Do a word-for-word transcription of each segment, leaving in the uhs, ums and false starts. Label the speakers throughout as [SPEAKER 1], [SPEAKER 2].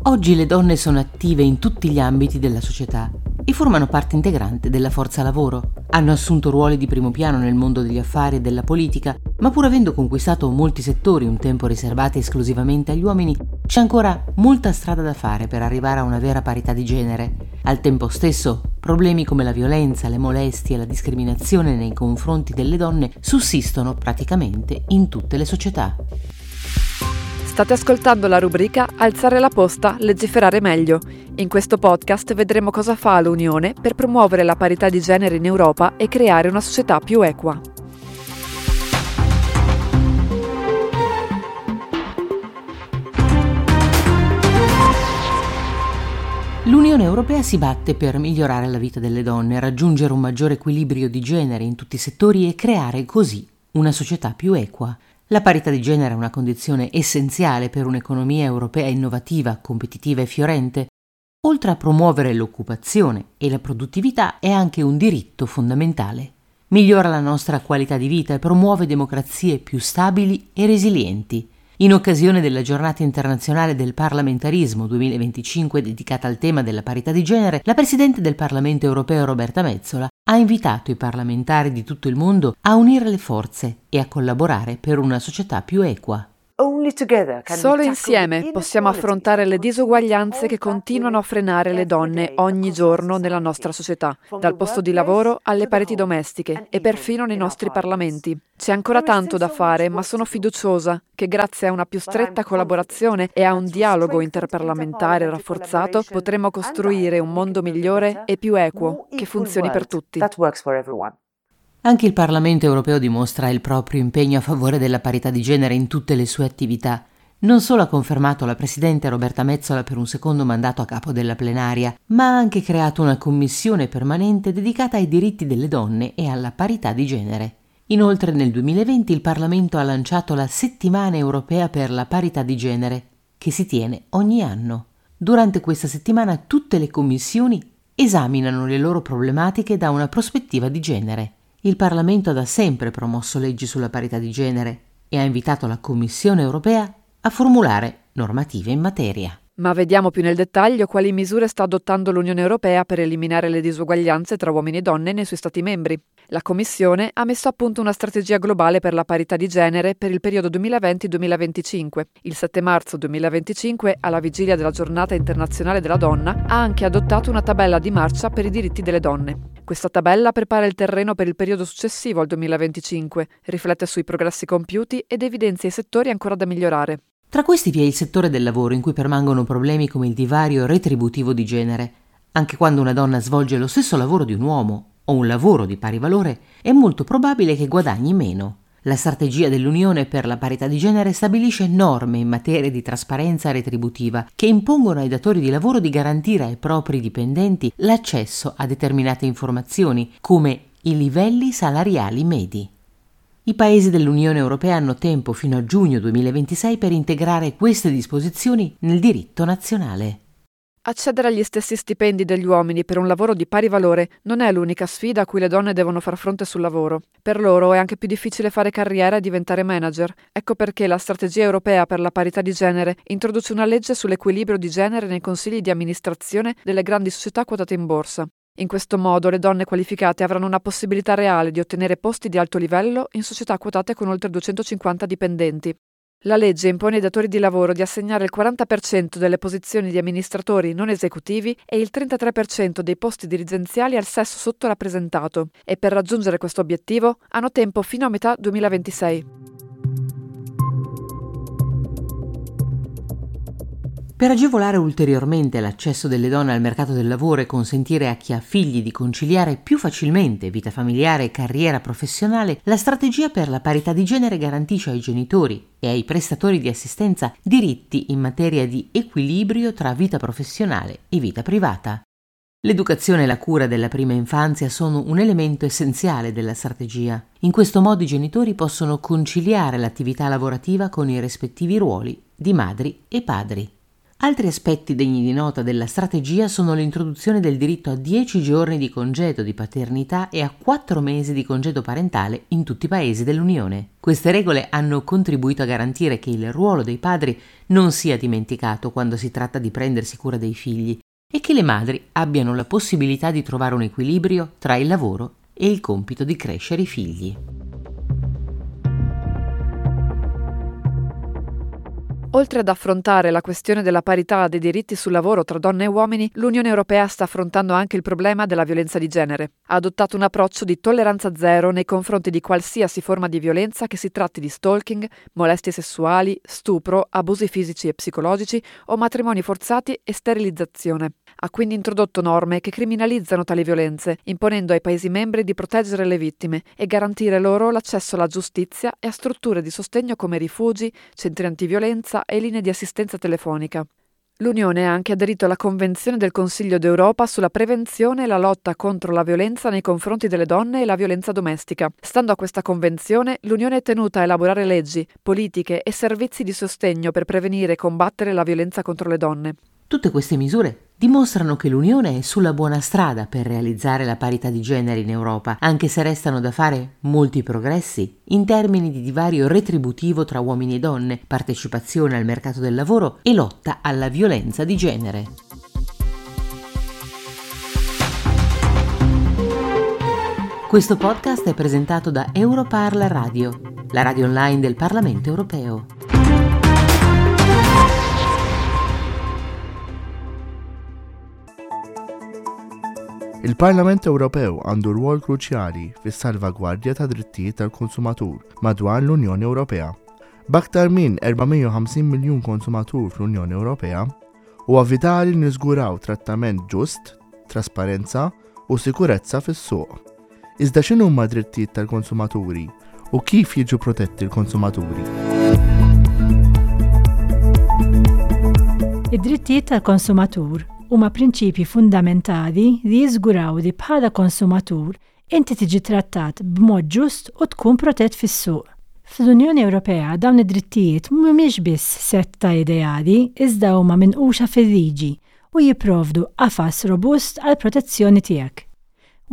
[SPEAKER 1] Oggi le donne sono attive in tutti gli ambiti della società e formano parte integrante della forza lavoro. Hanno assunto ruoli di primo piano nel mondo degli affari e della politica, ma pur avendo conquistato molti settori un tempo riservati esclusivamente agli uomini, c'è ancora molta strada da fare per arrivare a una vera parità di genere. Al tempo stesso, problemi come la violenza, le molestie e la discriminazione nei confronti delle donne sussistono praticamente in tutte le società.
[SPEAKER 2] State ascoltando la rubrica Alzare la posta, legiferare meglio. In questo podcast vedremo cosa fa l'Unione per promuovere la parità di genere in Europa e creare una società più equa.
[SPEAKER 1] L'Unione Europea si batte per migliorare la vita delle donne, raggiungere un maggiore equilibrio di genere in tutti i settori e creare così una società più equa. La parità di genere è una condizione essenziale per un'economia europea innovativa, competitiva e fiorente. Oltre a promuovere l'occupazione e la produttività, è anche un diritto fondamentale. Migliora la nostra qualità di vita e promuove democrazie più stabili e resilienti. In occasione della Giornata internazionale del parlamentarismo duemilaventicinque dedicata al tema della parità di genere, la Presidente del Parlamento europeo Roberta Metsola ha invitato i parlamentari di tutto il mondo a unire le forze e a collaborare per una società più equa.
[SPEAKER 2] Solo insieme possiamo affrontare le disuguaglianze che continuano a frenare le donne ogni giorno nella nostra società, dal posto di lavoro alle pareti domestiche e perfino nei nostri parlamenti. C'è ancora tanto da fare, ma sono fiduciosa che grazie a una più stretta collaborazione e a un dialogo interparlamentare rafforzato potremo costruire un mondo migliore e più equo che funzioni per tutti.
[SPEAKER 1] Anche il Parlamento europeo dimostra il proprio impegno a favore della parità di genere in tutte le sue attività. Non solo ha confermato la Presidente Roberta Metsola per un secondo mandato a capo della plenaria, ma ha anche creato una commissione permanente dedicata ai diritti delle donne e alla parità di genere. Inoltre nel duemilaventi il Parlamento ha lanciato la Settimana europea per la parità di genere, che si tiene ogni anno. Durante questa settimana tutte le commissioni esaminano le loro problematiche da una prospettiva di genere. Il Parlamento ha da sempre promosso leggi sulla parità di genere e ha invitato la Commissione europea a formulare normative in materia.
[SPEAKER 2] Ma vediamo più nel dettaglio quali misure sta adottando l'Unione Europea per eliminare le disuguaglianze tra uomini e donne nei suoi Stati membri. La Commissione ha messo a punto una strategia globale per la parità di genere per il periodo duemilaventi duemilaventicinque. Il sette marzo duemilaventicinque, alla vigilia della Giornata Internazionale della Donna, ha anche adottato una tabella di marcia per i diritti delle donne. Questa tabella prepara il terreno per il periodo successivo al duemilaventicinque, riflette sui progressi compiuti ed evidenzia i settori ancora da migliorare.
[SPEAKER 1] Tra questi vi è il settore del lavoro in cui permangono problemi come il divario retributivo di genere. Anche quando una donna svolge lo stesso lavoro di un uomo o un lavoro di pari valore, è molto probabile che guadagni meno. La strategia dell'Unione per la parità di genere stabilisce norme in materia di trasparenza retributiva che impongono ai datori di lavoro di garantire ai propri dipendenti l'accesso a determinate informazioni, come i livelli salariali medi. I paesi dell'Unione Europea hanno tempo fino a giugno duemilaventisei per integrare queste disposizioni nel diritto nazionale.
[SPEAKER 2] Accedere agli stessi stipendi degli uomini per un lavoro di pari valore non è l'unica sfida a cui le donne devono far fronte sul lavoro. Per loro è anche più difficile fare carriera e diventare manager. Ecco perché la strategia europea per la parità di genere introduce una legge sull'equilibrio di genere nei consigli di amministrazione delle grandi società quotate in borsa. In questo modo le donne qualificate avranno una possibilità reale di ottenere posti di alto livello in società quotate con oltre duecentocinquanta dipendenti. La legge impone ai datori di lavoro di assegnare il quaranta per cento delle posizioni di amministratori non esecutivi e il trentatré per cento dei posti dirigenziali al sesso sottorappresentato e per raggiungere questo obiettivo hanno tempo fino a metà duemilaventisei.
[SPEAKER 1] Per agevolare ulteriormente l'accesso delle donne al mercato del lavoro e consentire a chi ha figli di conciliare più facilmente vita familiare e carriera professionale, la strategia per la parità di genere garantisce ai genitori e ai prestatori di assistenza diritti in materia di equilibrio tra vita professionale e vita privata. L'educazione e la cura della prima infanzia sono un elemento essenziale della strategia. In questo modo i genitori possono conciliare l'attività lavorativa con i rispettivi ruoli di madri e padri. Altri aspetti degni di nota della strategia sono l'introduzione del diritto a dieci giorni di congedo di paternità e a quattro mesi di congedo parentale in tutti i paesi dell'Unione. Queste regole hanno contribuito a garantire che il ruolo dei padri non sia dimenticato quando si tratta di prendersi cura dei figli e che le madri abbiano la possibilità di trovare un equilibrio tra il lavoro e il compito di crescere i figli.
[SPEAKER 2] Oltre ad affrontare la questione della parità dei diritti sul lavoro tra donne e uomini, l'Unione Europea sta affrontando anche il problema della violenza di genere. Ha adottato un approccio di tolleranza zero nei confronti di qualsiasi forma di violenza, che si tratti di stalking, molestie sessuali, stupro, abusi fisici e psicologici o matrimoni forzati e sterilizzazione. Ha quindi introdotto norme che criminalizzano tali violenze, imponendo ai Paesi membri di proteggere le vittime e garantire loro l'accesso alla giustizia e a strutture di sostegno come rifugi, centri antiviolenza e linee di assistenza telefonica. L'Unione ha anche aderito alla Convenzione del Consiglio d'Europa sulla prevenzione e la lotta contro la violenza nei confronti delle donne e la violenza domestica. Stando a questa convenzione, l'Unione è tenuta a elaborare leggi, politiche e servizi di sostegno per prevenire e combattere la violenza contro le donne.
[SPEAKER 1] Tutte queste misure dimostrano che l'Unione è sulla buona strada per realizzare la parità di genere in Europa, anche se restano da fare molti progressi in termini di divario retributivo tra uomini e donne, partecipazione al mercato del lavoro e lotta alla violenza di genere. Questo podcast è presentato da Europarl Radio, la radio online del Parlamento europeo.
[SPEAKER 3] Il-Parlament Ewropew għandu rwol kruċjali fis-salvagwardja ta' drittijiet tal-konsumatur madwar l-Unjoni Ewropea. B'aktar minn erba' mija u ħamsin miljun konsumatur fl-Unjoni Ewropea, huwa vitali niżguraw trattament ġust, trasparenza u sikurezza fis-suq. Iżda x'inhuma drittijiet tal-konsumaturi u kif jiġu protetti l-konsumaturi?
[SPEAKER 4] Id-drittijiet tal-konsumatur huma prinċipji fundamentali li jiżguraw li bħala konsumatur inti tiġi trattat b'mod ġust u tkun protett fis-suq. Fl-Unjoni Ewropea dawn id-drittijiet mhumiex biss sett ta' ideali, iżda huma minquxa fil-liġi u jipprovdu qafas robust għal protezzjoni tiegħek.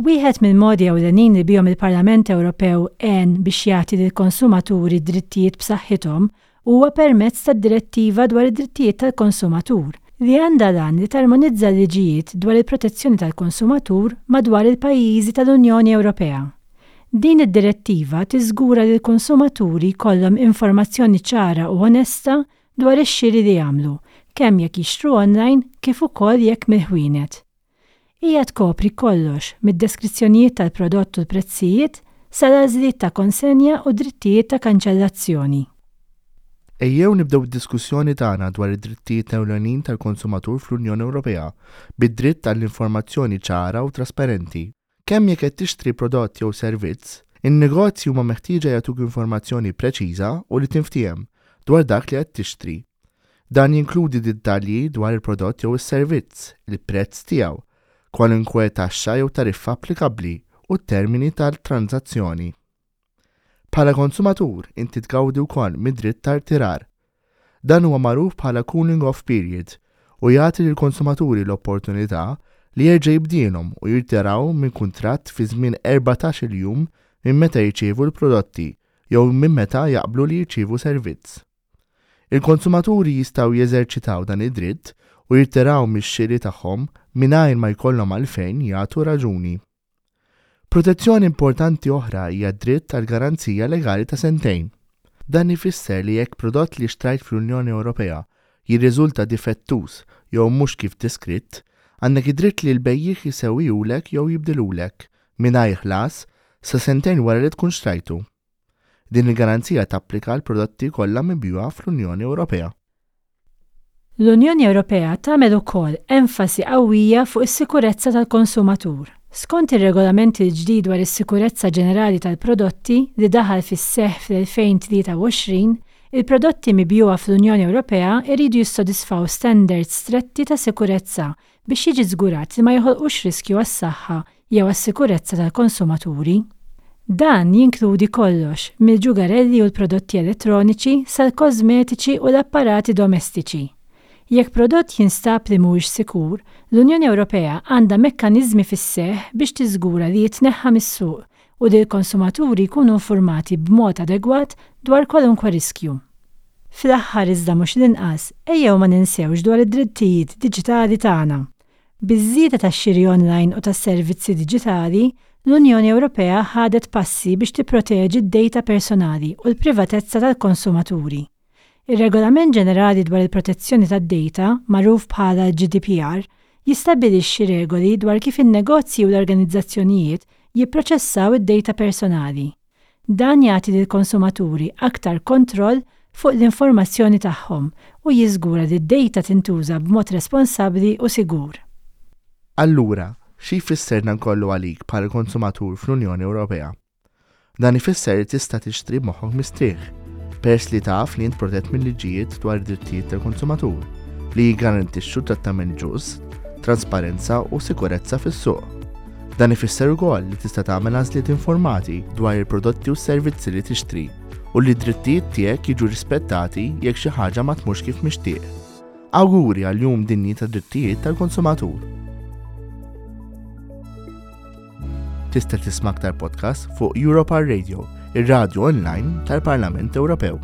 [SPEAKER 4] Wieħed mill-modi ewlenin li bihom il-Parlament Ewropew għen biex jagħti lill-konsumaturi drittijiet b'saħħithom huwa permezz tad-Direttiva dwar id-drittijiet tal-konsumatur, li għandha l-għan li tarmonizza l-liġijiet dwar il-protezzjoni tal-konsumatur madwar il-pajjiżi tal-Unjoni Ewropea. Din id-direttiva tiżgura li l-konsumaturi jkollhom informazzjoni ċara u onesta dwar ix-xiri li jagħmlu, kemm jekk jixtru online kif ukoll jekk mill-ħwienet. Hija tkopri kollox mid-deskrizzjonijiet tal-prodott u l-prezzijiet sal-għażliet ta' konsenja u drittijiet ta' kanċellazzjoni.
[SPEAKER 3] Ejjew nibdew id-diskussjoni tagħna dwar id-drittijiet ewlenin tal-konsumatur fl-Unjoni Ewropea bid-dritt tal-informazzjoni ċara u trasparenti. Kemm jekk qed tixtri prodott jew servizz, in-negozji huma meħtieġa jagħtuk informazzjoni preċiża u li tinftiehem dwar dak li qed tixtri. Dan jinkludi dettalji dwar il-prodott jew is-servizz, il-prezz tiegħu, kwalunkwe taxxa jew tariffa applikabbli u t-termini tal-transazzjoni. Bħala konsumatur, inti tgawdi wkoll mid-dritt tal-irtirar. Dan huwa magħruf bħala cooling off period u jagħti lill-konsumaturi l-opportunità li jerġa' jibdielhom u jirtiraw minn kuntratt fi żmien erbatax-il jum minn meta jirċievu l-prodotti jew minn meta jaqblu li jirċievu servizz. Il-konsumaturi jistgħu jeżerċitaw dan id-dritt u jirtiraw mix-xiri tagħhom mingħajr ma jkollhom għalfejn jagħtu raġuni. Protezzjoni importanti oħra hija d-dritt tal-garanzija legali ta' sentejn. Dan ifisser li jekk prodott li xtrajt fl-Unjoni Ewropea jirriżulta difettuż jew mhux kif deskritt, għandek id-dritt li l-bejjiegħ jisewwihulek jew jibdilulek mingħajr ħlas sa sentejn wara li tkun xtrajtu. Din il-garanzija tapplika għal prodotti kollha mibjugħa fl-Unjoni Ewropea.
[SPEAKER 4] L-Unjoni Ewropea tagħmel ukoll enfasi qawwija fuq is-sikurezza tal-konsumatur. Skont ir-regolament il-ġdid dwar is-sikurezza ġenerali tal-prodotti li daħal fis-seħħ fl-elfejn tlieta u għoxrin, il-prodotti mibjugħa fl-Unjoni Ewropea jridu jissodisfaw standards stretti ta' sikurezza biex jiġi żgurat li ma joħolqux riskju għas-saħħa jew għas-sikurezza tal-konsumaturi. Dan jinkludi kollox mill-ġugarelli u l-prodotti elettroniċi sal-kosmetiċi u l-apparati domestiċi. Jekk prodott jinstab li mhuwiex sikur, l-Unjoni Ewropea għandha mekkaniżmi fis-seħħ biex tiżgura li jitneħħa mis-suq u li l-konsumaturi jkunu informati b'mod adegwat dwar kwalunkwe riskju. Fl-aħħar iżda mhux l-inqas, ejjew ma ninsewx dwar id-drittijiet diġitali tagħna. Biż-żieda tax-xiri online u tas-servizzi diġitali, l-Unjoni Ewropea ħadet passi biex tipproteġi d-data personali u l-privatezza tal-konsumaturi. Ir-Regolament Ġenerali dwar il-Protezzjoni tad-Data, magħruf bħala G D P R, jistabbilixxi regoli dwar kif in-negozji u l-organizzazzjonijiet jipproċessaw id-data personali. Dan jagħti lill-konsumaturi aktar kontroll fuq l-informazzjoni tagħhom u jiżgura li d-data tintuża b'mod responsabbli u sigur.
[SPEAKER 3] Allura, xi jfisser dan kollu għalik bħala konsumatur fl-Unjoni Ewropea? Dan ifisser li tista' tixtri moħħok mistrieħ, peress li taf li int protett mill-liġijiet dwar id-drittijiet tal-konsumatur li jiggarantixxu trattament ġust, trasparenza u sikurezza fis-suq. Dan ifisser ukoll li tista' tagħmel għażliet informati dwar il-prodotti u s-servizzi li tixtri u li d-drittijiet tiegħek jiġu rispettati jekk xi ħaġa ma tmurx kif mixtieq. Awguri għal Jum Dinji tad-Drittijiet tal-Konsumatur. Tista' tisma' aktar podcast fuq Europa Radio, ir-radio online tal-Parlament Ewropew.